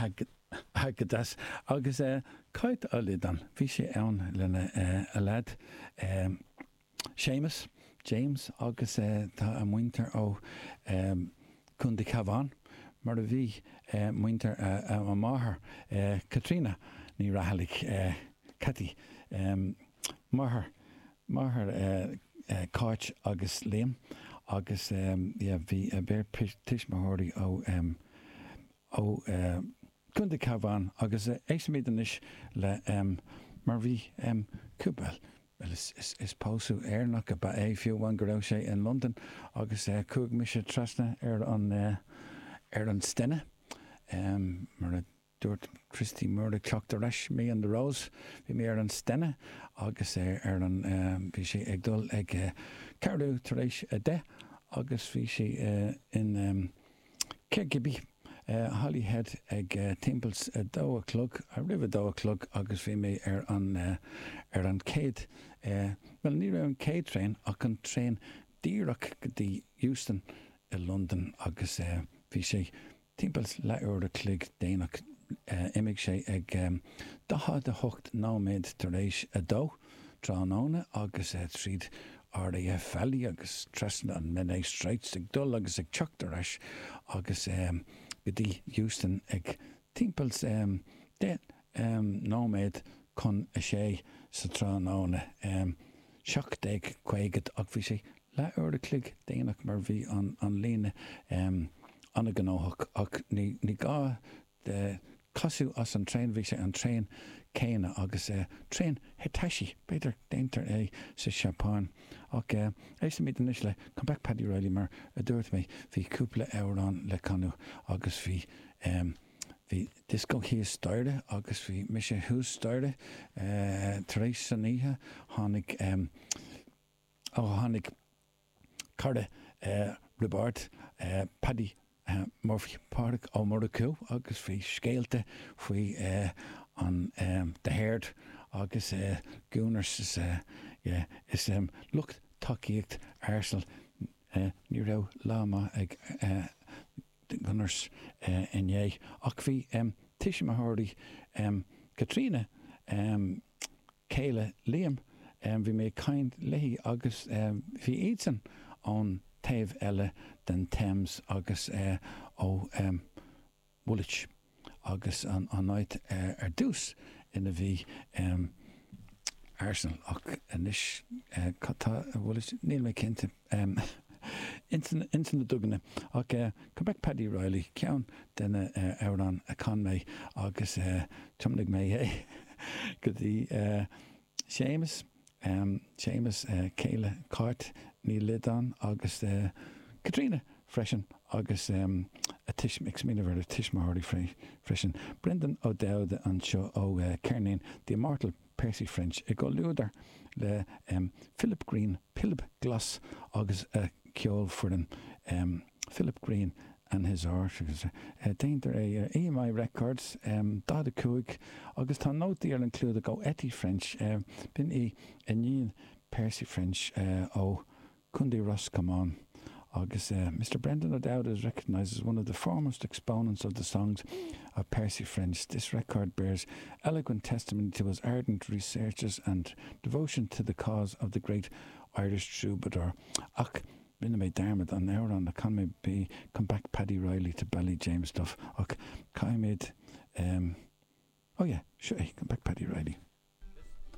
Aha, go deas. Agus Cáit Ó Loideáin, bhí sí ann lena a leaid Séamus, James, agus tá a muintir ó Contae Cabhán, mar a bhí muintir a máthar, Caitríona Ní Raghallaigh, Cathy, máthair, máthair Cáit agus Liam, agus yeah bhí a beirt tuismitheoirí ó ó Contae Cabhán agus éistfimid anois le mar bhí cúpla bhuel is is pósadh Éireannach ab ea é fiú amháin go raibh sé in Londain agus chuaigh mise trasna ar an ar an Stena mar a dúirt Christy Moore ag teacht ar ais Me and the Rose bhí mé ar an Stena agus ar an bhí sé ag dul ag ceathrú tar éis 10 agus bhí sé in Caergybi, Holyhead ag timpeall 2 a chlog, roimh 2 a chlog agus bhí mé ar an ar an chéad, bhuel ní raibh an chéad traein ach an traein díreach go dtí Euston i Londain agus bhí sé Timpeall leathuair a chloig déanach, d'imigh sé ag 48 nóiméad tar éis 2 tráthnóna agus tríd RAF Valley agus trasna an Menai Straits ag dul agus ag teacht ar ais agus go dtí Euston ag timpeall 10 nóiméad chun 6 sa tráthnóna, 17:50, ach bhí sé leath uair a chloig déanach mar bhí an líne an-ghnóthach ach ní gá casadh as an traein, bhí sé an traein céanna agus traein Hitachi, b'fhéidir déantar é sa Seapáin. Ach éistfimid anois le Come Back Paddy Reilly mar a dúirt mé bhí cúpla amhrán le canadh agus bhí bhí disco thíos staighre agus bhí mise thuas staighre tar éis san oíche tháinig Ó tháinig cara Roibeárd, Paddy Murphy, Pádraig Ó Murchú agus bhí scéalta faoi an The Herd agus Gooners is yeah is lucht tacaíocht Arsenal ní raibh lá maith ag The Gunners inné ach bhí tuismitheoirí Caitríona céile Liam, bhí mé ag caint léi agus bhí iadsan ón taobh eile den Thames agus ó Woolwich agus an áit ar dtús ina bhí Arsenal ach anois cad tá i Woolwich, níl mé cinnte. Ins na duganna. Ach Come Back Paddy Reilly, ceann de na amhráin a chan mé agus thiomnaigh mé é go dtí Séamus, Séamus, céile Cáit Ní Loideáin agus Caitríona freisin agus a tuis, ag smaoineamh ar a tuismitheoirí freisin. Brendan Ó Dowda anseo ó ceirnín The Immortal Percy French i gcomhluadar le Philip Green, Pilib Glas agus a cheolfhoireann, Philip Green and his Orchestra. Déantar é ar EMI Records, 45, agus tá nótaí ar an chlúdach ó Etty French, b'in í iníon Percy French ó Contae Ros Comáin agus Mr Brendan O'Dowd is recognised as one of the foremost exponents of the songs of Percy French. This record bears eloquent testimony to his ardent researches and devotion to the cause of the great Irish troubadour. Ach rinne mé dearmad an amhrán a chan mé bhí Come Back Paddy Reilly to Ballyjamesduff ach caithfimid um, oh yeah, seo é Come Back Paddy Reilly.